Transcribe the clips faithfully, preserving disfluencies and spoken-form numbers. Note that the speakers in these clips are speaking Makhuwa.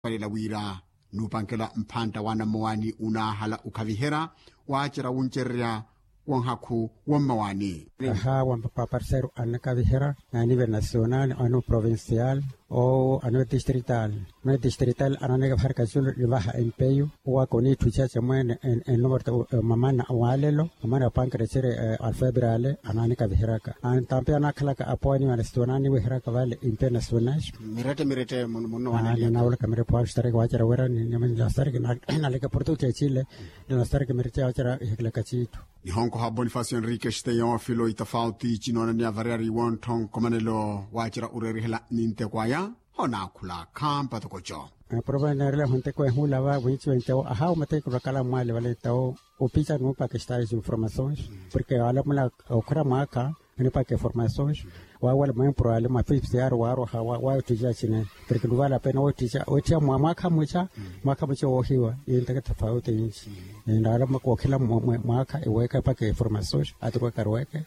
Palela wira nuupankela mphantta wa anammawaani unaahala okhaviherya waacerya wuncererya wa nhakhu wa mmawaani. Aha wa paparseru annakaviherya na nivel nasional, anu provincial, ou anu distrital. Mani distrital ananeka vaharika culu nivaha empeyu. Owaka oniitthu ichache mweene ennumerta mamana walelo mamana apankela ciri alfebrale ananikaviheryaka. Antampi anakhalaka apooni anasional niweheryaka vale impe nasional. Mirette mirette munno wanaliyaka. Mirepo aristareke wacerya wira ni ni ni astareke naleke portuke cile. Ni astareke mirette wacerya ihekilaka ciithu. Nihonkoha bonifacio henrique steyofilo itafauti cinoona ni avariyari wontthonkomanelo wacerya oreerihela ninteko aya. Honaakhula khampa tokoco. Provenarela ehunte kwehuula va winci wentewo ahawu mateki vakala mwale vale tawo. Opica nuupaka estage informações porque alamula okhira mwaakha. Nipaka informações wawala mwempuro ale mwa fifth yar waaroha waottiica cine. Porque luvala pena wettiica mwaakha mwica. Mwaakha mwica woohiwa yinteke tafauti yinci. Nalama kookhila mwaakha eweeka epaka informações aturweka arweke.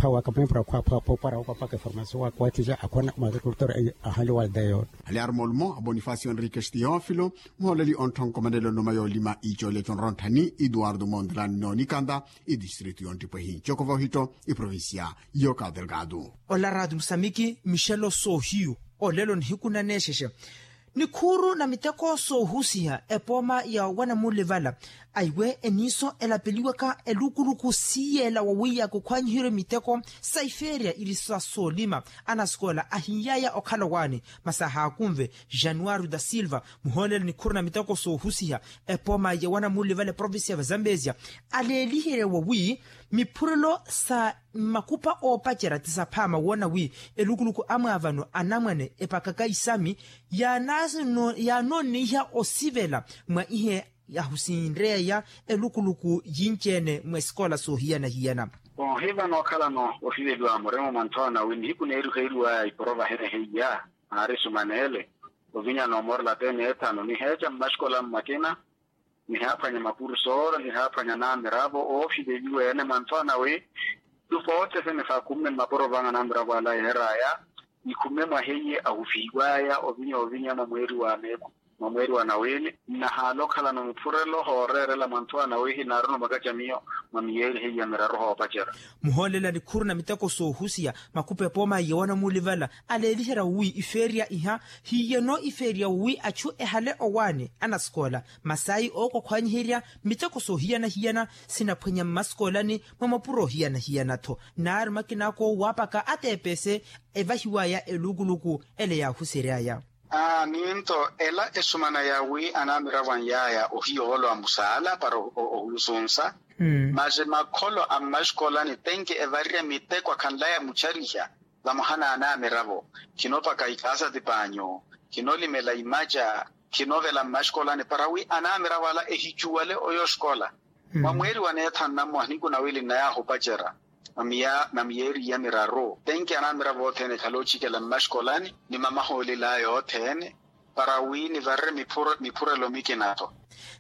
Phawaka mwempuro akhwa phwapara waka opaka informações waka wettiica akhona mwa agricultor. Ahali waldeyo. Hali aruma olumo a bonifacio henrique steyofilo muhooleli onttha onkomanelo nnuma yoolima iicoleco nrontthani eduardo mondrani noonikanta. Idistritu yonttipwehi ncokova ohitto iprovincia. Yoka delgado. Ola raati musamiki mixelo soohiyu olelo nihiku naneexexe. Nikhuuru na miteko soohusiha epooma ya wanamulivala aiwe eniiso elapeliwaka elukuluku siiyeela wawiiyaka okhwanyiheryo miteko sa ifeerya iri sa soolima. Anasikola ahiiyaya okhala owaani masi ahaakunve januario da silva muhoolele nikhuuru na miteko soohusiha epooma ya wanamulivala eprovincia ya vazambesia aleeliherya wawi miphurelo sa mmakupa oopacerya ti saphaama woona wi elukuluku amwaavano anamwane epakaka isami yaanoonneiha osivela mwa ihe yahusinreya elukuluku yinci-ene mwa esikola soohiyana-hiyana. Oohivano okhalano osiveliwa murima mwa nthoona wi nihiku neeriheeriwaya iporova henehe iya naari sumaneele ovinya noomorela ateene ethanu niheeca mmaxikola mmakina nihaaphwanya mapurusoora nihaaphwanya anamiravo oofiveliwa ene mantho anawe. Tufootesene faakhumme mmapuro vanga anamiravo ala yeeraya nikhumme mwa heiye ahufihiwaya ovinya ovinya mwa mweeri wa meekhu mwa mweeri wa nawili nnahaala okhalano miphurelo hooreerela mantho anawe hinaaruna omwakaca miyo mwa miyeeri heiya miraru hoopacerya. Muhoolelani khuru na miteko soohusiya makupa epooma iye wanamulivala aleeliherya wi ifeerya iha hiyeno ifeerya wi achu ehale owaani anasikoola masayi ookokhwanyiherya miteko soohiyana-hiyana sinaphwenya mmasikolani mwa mapuro ohiyana-hiyana-tho naari makina ako waapaka ateepese evahiwaya elukuluku ele yaahuseryaya. Ninto ela esumana ya wi anamiravo anyaya ohiya oholwa musaala para ohusunsa masi makholo a mmaxikolani tenki evarerya miteko akhanlaya muchariha vamoha n'anamiravo khinoopaka ikaasa tipanyu khinoolimela imaca khinovela mmaxikolani para wi anamiravo ala ehicuwale oyo oxikola. Mwa mweeri wa neetha nnammoha niku nawili nnayahupacerya na miyeeri iya miraru tenki anamiravo othene ekhale ochikela mmaxikolani ni mamahoolelaya othene para wi nivarerye miphurelo mikina-tho.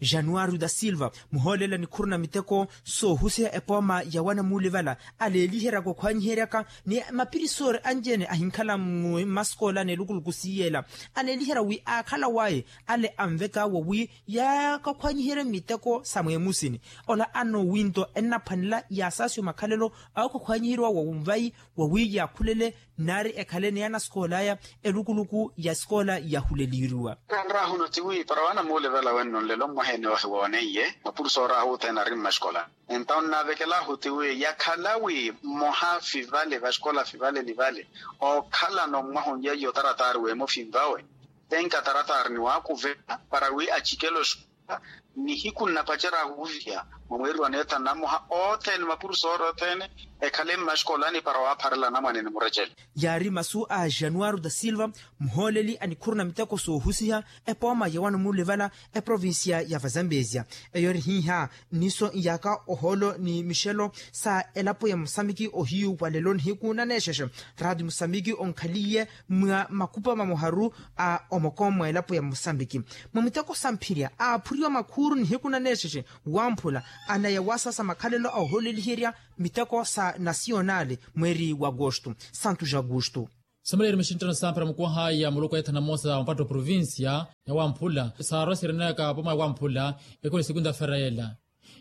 Januario da silva muhoolela nikhuru na miteko soohusiha epooma ya wanamulivala aleeliheryaka okhwanyiheryaka ni mapirisoori anci-ene ahinkhala mmasikoola n'elukuluku siiyeela aleeliherya wi aakhala waye ale anveka wawi yaakakhwanyiherye miteko sa mweemusini. Ola anno winto ennaphwanela yaasaasiwa makhalelo awookhakhwanyiheriwa wa wunvayi wawi yaakhulele nari ekhale ni anasikoola aya elukuluku ya sikoola yahuleleriwa. Kanrahuno tiwi para wanamuulevela wenno nlelo mwaha ene ohiwooneiye mapursoori ahu othene ari mmaxikola. Entawo nnaavekelaahu tiwi yakhala wi mmoha fivale vaxikola fivale ni vale ookhalano mwaha onyaiya otarataari weemo finvawe tenka tarataari ni waakuvela para wi acikele oxikola. Nihiku nnapacerya ahuviya mwa mweeri wa neetha nnamoha othene mapurusoori othene ekhale mmaxikolani para waapharela anamwane ni murecele. Yaari masu a januario da silva muhooleli a nikhuru na miteko soohusiha epooma ya wanamulivala eprovincia ya vazambesia. Eyo eri hiiha nniso nyaaka ohoolo ni mixelo sa elapo ya mosamiki ohiyu wa lelo nihiku naneexexe. Raati mosamiki onkhaliye mwa makupa mamoharu a omoko mwa elapo ya mosambiki mwa miteko samphirya aaphuriwa makhuru nihiku naneexexe wamphula anaya wasa sa makhalelo a oholeliherya miteko sa nasiyonali mweeri wa agosto santos augusto. Someleyeri mixinttano samphira mukuwahaya muluku ya ethana moosa wa mpatto provincia ya wamphula saarwa sireneyaka poma ya wamphula. Ekole sekunta fera yela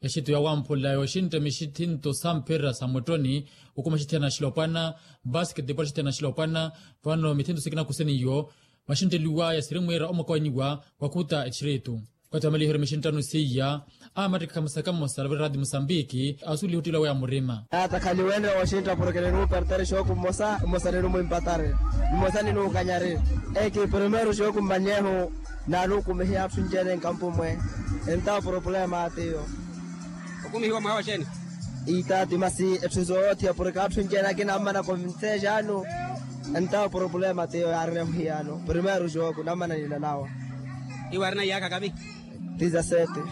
exitto ya wamphula yooxintta mixithinto samphira sa mwettoni. Okuma xithiyana xilopwana basketball xithiyana xilopwana. Vano mithinto sikina kuseniyo maxintteliwaya siri mwiira omwakowanyiwa wakhuta exitto. Okathi wa maliheryo mixinttano siiya amattikha musaka mmosa alavira rati musambiki asuliha ottila weya murima. Atakhaliwene wooxintta porke ninuupertari xooku mmosa mmosa ninumumpatari mmosa ninuukanyari. Eki primeiro xooku mmanyehu naanukumihiya atthu njene nkampumwe. Entawo problema atiyo. Okumihiwa mwaha waxene? Itaati masi etthu soothiya porke atthu njene akinammana konvinse xaanu. Entawo problema tiyo yaarina muhiyano primeiro xooku nammana ninanawa. Iwe arina iyaakha kavi? Dizasete.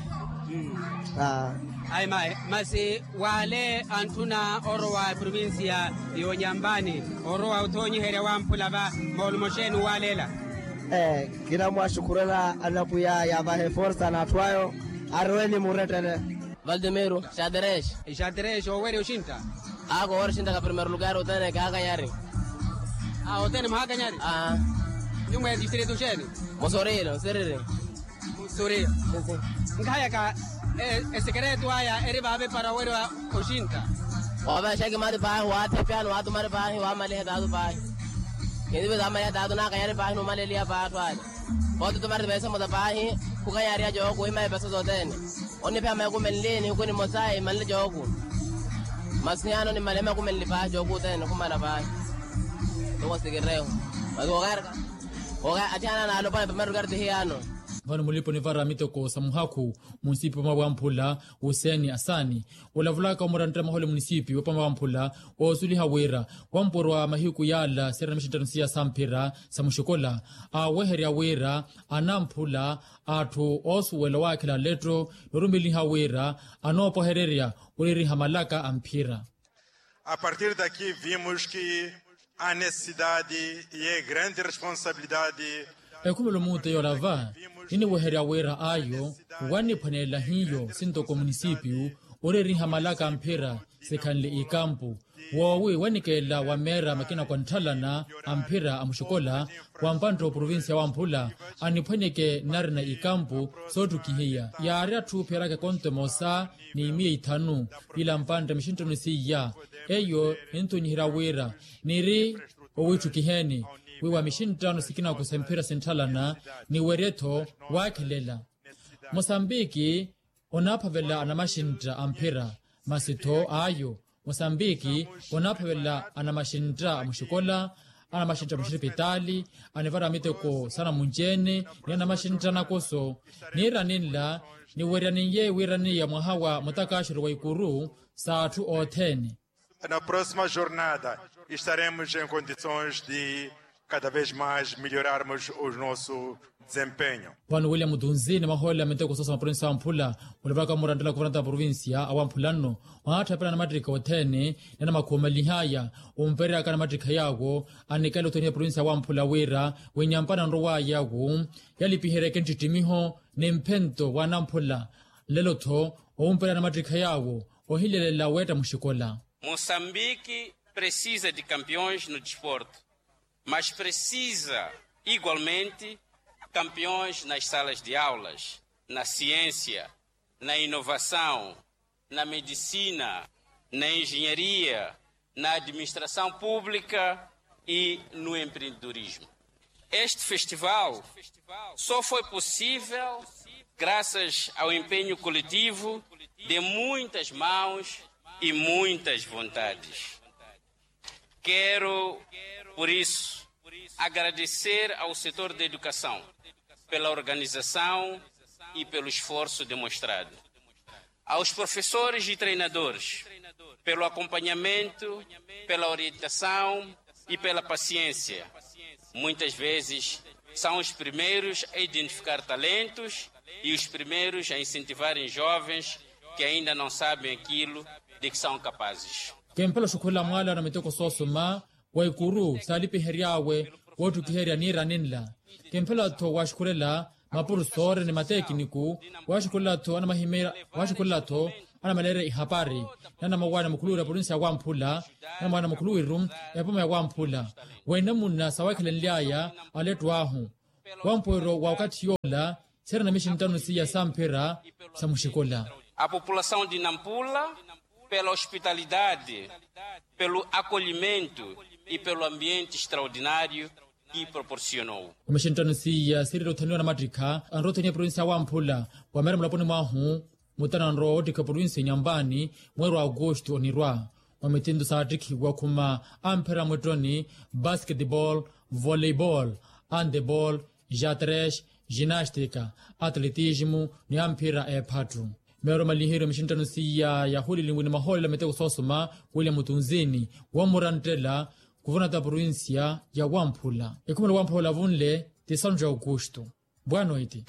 Ayi mayi masi wale antthuna orowa eprovincia y'onyambani orowa othoonyiherya wamphula va moolumo xeeni uwaleela? Ee, kinamwaxukhurela anapwiya yavahe forsa n'atthu ayo. Aroweni murettele. Valdemiro xaterexe. Xaterexe owerya oxintta? Aako owerya oxintta ka primeiro lugar othene kaakanyari. Othene mwahaakanyari? Aa. Nyumwa ya distrito xeeni? Mosorilo nsiriri. Mosorilo. Nkahayaka esekereto aya eri vaave para owerya oxintta? Oovexaki mari paahi waathepyani waatumari paahi waamaliha taatu paahi. Kintivi zaamaliha taatu naakanyari paahi numaleliha paahi atthu ale. Pooti tumari tipeesa emosa paahi khukanyariha jooku imayi peesa sothene. Onniphya maikumenli nihiku nimosa imanle jooku. Masi hiyano nimale maikumenli paahi jooku othene nikhumala paahi. Toko sikireho. Masi kookaarika. Kooka athiana naalopana pamari karti hiyano. Vano mulipo nivara miteko sa muhakhu munsipi pamawamphula. Wuseni asaani olavulaka omurantira mahole munisipi wapama wamphula. Woosuliha wira wampurwa mahiku yaala sirina mixinttano siya samphira sa muxikola aaweherya wira anamphula atthu oosuwela owaakhela letto noorumeliha wira anoopwahererya oririha malaka amphira. A partir daqui vimos que a necessidade e a grande responsabilidade. Ekhumelo muute yoolava niniweherya wira ayo wanniphwanelela hiyo sintoko munisipiyu oreriha malaka a mphira sikhanle ikampu woowi wanikeela wameera makina kwa ntthalana a mphira a muxikola wa mpantta oprovincia wamphula aniphwanyeke nnarina ikampu soottukihiya yaari atthu oopheraka ekonto emosa ni miya ithanu ila mpantta mixinttano siiya. Eyo ninthuunyiherya wira niri owiitthukiheni wiiwa mixinttano sikina kusemphira sintthalana niwerye-tho waakhelela. Mosambiki onaaphavela anamaxintta a mphira masi-tho ayo mosambiki onaaphavela anamaxintta a muxikola anamaxintta a muxipitaali anivara miteko sanamunci-ene ni anamaxintta anakoso. Niira ninla niwerya ninye wiiraniya mwaha wa mutakaxero wa ikuru sa atthu othene. Na proxima jornada estaremos em condições de cada vez mais melhorarmos o nosso desempenho. Vano william mutunzi ni mahoolela miteko soosa maprovinsiya wamphula olavulaka murantela kuvaranta a provinsiya awamphula nno. Waatthapelela anamattikha othene ni anamakhuumalihaya ompereyaka anamattikha yaawo anikela othene ya provinsiya wamphula wira wenyampana nrowaya yawo yalipiheryeke nttittimiho ni mphento wa anamphula. Nlelo-tho owumperya anamattikha yaawo ohilelela weetta muxikola. Moçambique precisa de campeões no desporto, mas precisa igualmente campeões nas salas de aulas, na ciência, na inovação, na medicina, na engenharia, na administração pública e no empreendedorismo. Este festival só foi possível graças ao empenho coletivo de muitas mãos e muitas vontades. Quero, por isso, agradecer ao setor da educação pela organização e pelo esforço demonstrado, aos professores e treinadores pelo acompanhamento, pela orientação e pela paciência. Muitas vezes são os primeiros a identificar talentos e os primeiros a incentivarem jovens que ainda não sabem aquilo de que são capazes. Kemphela oxukhurela mwaala na miteko soosoma wa ikuru saalipihery'awe woottukiherya niira ninla. Kemphela-tho waxukhurela mapurusoore ni matekiniku. Waxukhurela-tho anamahimeerya waxukhurela-tho Anamaleerya ihapari, nanamawani mukhuluwiru a provincia ya wamphula, nanamawani mukhuluwiru epoma ya wamphula, wene munna sawakhelenly'aya alettu ahu wampoweryo wa wakatthi yoola. Sirina mixinttano siya samphira samuxikola. A população de nampula, pela hospitalidade, pelo acolhimento e pelo ambiente extraordinário que proporcionou. Wa mixinttano siya sirira othaniwa namattikha anrothaniya provincia ya wamphula, wa meera mulaponi mwahu mutana anrowa wottikha provincia nyambani, mweeri wa augusto onirwa. Wa mitinto saattikhiwa khuma amphira mwittoni, basketball, volleyball, handball, jatres, ginastika, atletismo, ni amphira ephattu. Meero malihiru mixinttano siya yahulilinwi ni mahoolelo a miteko soosoma, william tunzini wammuranttela kuvonata provincia ya wamphula. Ekhumelo wamphula olavunle ti santu ja augusto. Bwanoiti.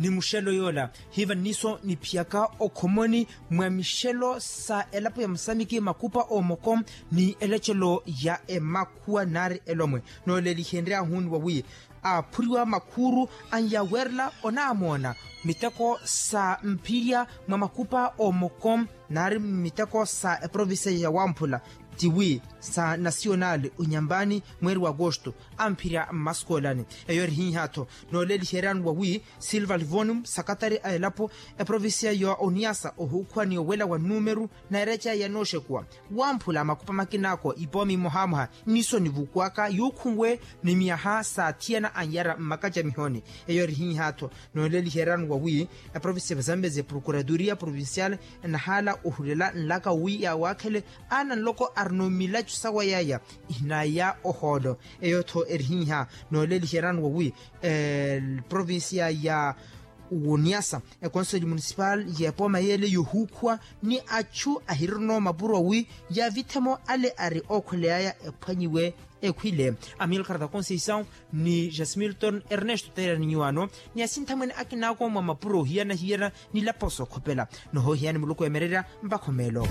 Ni muxelo yoola hiva nniso niphiyaka okhomoni mwa mixelo sa elapo ya musamiki makupa omoko ni elecelo ya emakhuwa nari elomwe. Noolelihenryahuni wawi aphuriwa makhuuru anyawerela onaamoona miteko sa mphirya mwa makupa omoko nari miteko sa eprovincia ya wamphula tiwi sa nasionali onyambani mweeri wa agosto amphirya mmasikoolani. Eyo erihiiha-tho nooleliheryani wawi silva livonium sakatari a elapo eprovincia ya oniasa ohuukhuwa ni owela wa numeru na ereca yanooxekuwa wamphula makupa makinaako ipomi mmohamoha nniso nivukuwaka yuukhunwe ni myaha saathiyana anyara mmaka ja mihoni. Eyo erihiiha-tho nooleliheryani wawi eprovincia ya zambezi procuradoria provincial enahaala ohulela nlaka wi yawaakhele aana nloko arina omilacu sawa yaya ihinaya ohoolo. Eyo-tho erihiiha nooleliheryani wawi eprovincia ya woniasa ekonseli municipal y'epooma yeele yohuukhuwa ni achu ahirino mapuro wi yavithemo ale ari ookholeyaya ephwanyiwe ekhwile. Amilcar da conceição ni jasmilton ernesto teerani nyuwaano ni asinthamwene akinaako mwa mapuro ohiyana-hiyana ni lapo sookhopela nohoohiyani muluku emererya mpakha omeelo.